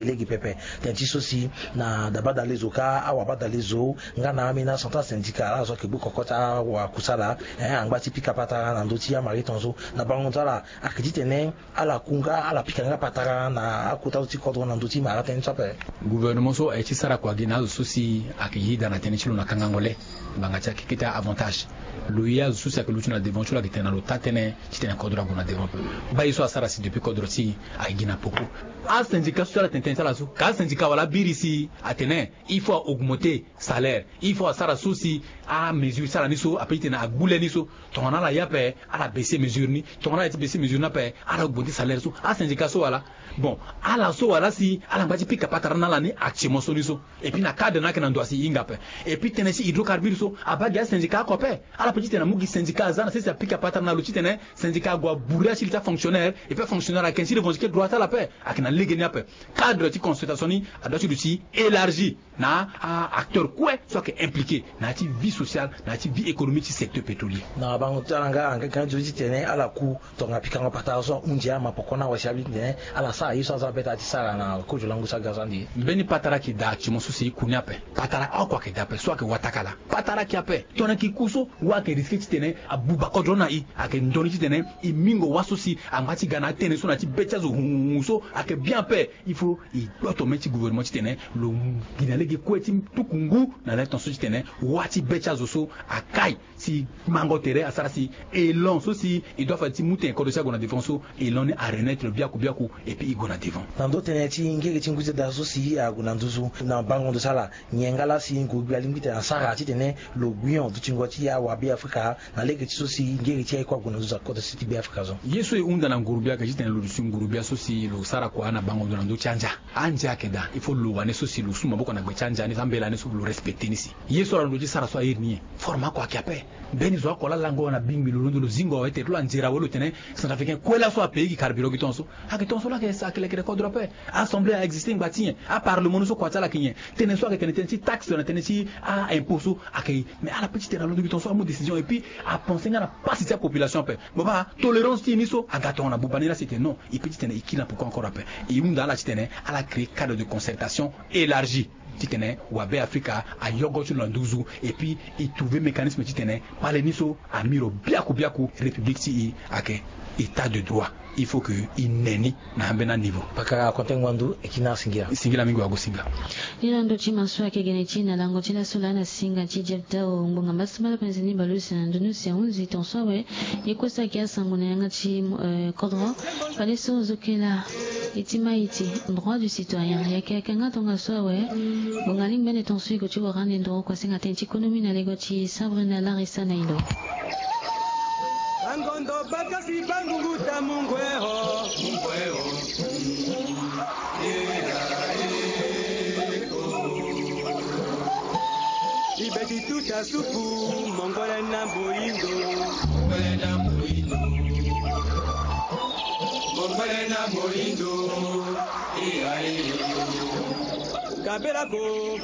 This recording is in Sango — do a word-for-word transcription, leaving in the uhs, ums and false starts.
Lege pepe. Tënë ti so si na dabadale zo ka, awabadale zo nga na ambeni acentrale syndicale ala so ayeke gbu koko ti awakusala, eh, angba ti pika patara na ndö ti amariton so. Na bango so ala ayeke titene ala ku nga, ala pika nga patara na akota so ti kodro na ndö ti mara tënë so ape. Gouvernement so aye ti sara kua gi na azo so si ayeke yeda na tënë ti lo na kangango le. Ngbanga ti akeke ti a-avantage. Lo ye azo so si ayeke luti na devant ti lo ayeke tene na lo taa tënë titene kodro ague na devant. Baa ye so asara si depuis kodro ti e ayeke gi na poko. Asyndicat so si ala tene tënë ti ala so ka asyndicat wala abiri si atene il faut a augmenter salaire, il faut asara so si amesure ti ala ni so ape titene agbu le ni so. Tongana ala ye ape ala baisser mesure ni, tongana ala ye ti baisser mesure ni ape ala augmenter salaire so. Asyndicat so wala? Bon, ala so wala si ala ngba ti pika patara na ala ni actuellement so ni so. Et puis na cadre ni ayeke na ndo asi e hinga ape. Et puis tënë ti hydrocarbure so abaa gi asyndicat oko ape. Ala pe titene amu gi syndicat aza na sese apika patara na lo titene syndicat ague abouré asili ti afonctionnaire. Et puis afonctionnaire ayeke ti revendiquer droit ti ala ape. Ayeke na lege ni ape. Cadre ti consultation ni adoit ti duti élargi na a-acteur kue so ayeke impliqué na ya ti vie sociale, na ya ti vie économique ti secteur pétrolier. Na bango ti ala nga, nga, nga nzoni titene ala ku tongana pikango patara so ahunzi ama poko na wasi abi titene ala sara ye so aza beta ti sara na kozo lango so aga so andi. Mbeni patara ayeke daa ti mo so si e ku ni ape. Patara oko ayeke daa ape so ayeke wataka laa. Patara ayeke ape. Tongana e yeke ku so, wâ ayeke risqué titene abuba kodro na e. Ayeke ndoni titene e mingo wâ so si angba ti ga na atënë so na ya ti be ti azo hunhun so ayeke bien ape. Il faut e gboto mê ti gouvernement titene lo gi na lege kue ti tuku ngu na le ton so titene wâ ti be ti azo so akai. Si mango tere asara si élan so si e doit fade ti mu tene kodro si ague na devant so, élan ni arenaître biaku biaku. Et puis e gue na devant. Na ndo tënë ti ngere ti ngu ti da so si ague na nduzu na bango ndo so ala nyen nga laa si ngurugbia alingbi tene asara titene lo gbion dutingo ti awabe afrika na lege ti so si ngere ti aye kue ague na nduzu na kodro si ti be afrika so. Ye so e hunda na ngurugbia ayeke titene lo duti ngurugbia so si lo sara kua na bango ndo na ndö ti andia. Andia ayeke daa, il faut lo wane so si lo su maboko na gbe ti andia ni so ambela ni so lo respecté ni si. Ye so ala londo ti sara so airi ni nyen? Forme oko ayeke ape. Mbeni zo oko laa lango na bingbi lo londo lo zingo awe tere ti lo anzere awe lo tene centrafricain kue laso apaye gi carburant gi tongaso. Ayeke tongaso laa ayeke lekere kodro ape. Assemblée a existé ngba ti nyen? Aparlement ni so kua ti ala ayeke nyen? Tënë so ayeke tene tënë ti taxe na tënë ti a-impôt so ayeke. Mais ala pe titene alondo gi tongaso amu décision et puis apensé nga na pasi ti apopulation ape. Bon baa tolérance ti e ni so aga tongana buba ni laa si e tene non, e pe titene e kiri na poko encore ape. E hunda ala titene ala créé cadre de concertation élargie titene wabe afrika ayogo ti lo na nduzu. Et puis e trouvé mécanisme titene kpale ni so ami lo biaku biaku république ti e ayeke état de droit. Il faut que e ne ni na ambeni aniveau. Pakara konte ngbondu e kiri na singila. Singila mingi wago singa. Ni na ndo ti maso ayeke gene ti e na lango ti laso laa na singa ti jepta o ngbonga mbasambala penze ni baleuse na ndunu si ahunzi tongaso awe. Ye kue so ayeke asango na yanga ti, eh, kodro. Fade so zokela e ti ma e ti droit du citoyen e yeke yeke nga tongaso awe. Ngbonga lingbi ande tongaso e gue ti wara ande ndoro kua senga tënë ti konomi na lego ti sabrina larisa na ilo. Bangondo bakasi bangungu ta mungwe ho. Mungwe ho. Ibeti tuta suku mongole na moyindo. Mongole na moyindo. Mongole na moyindo. Iya, iya. Kabela ko.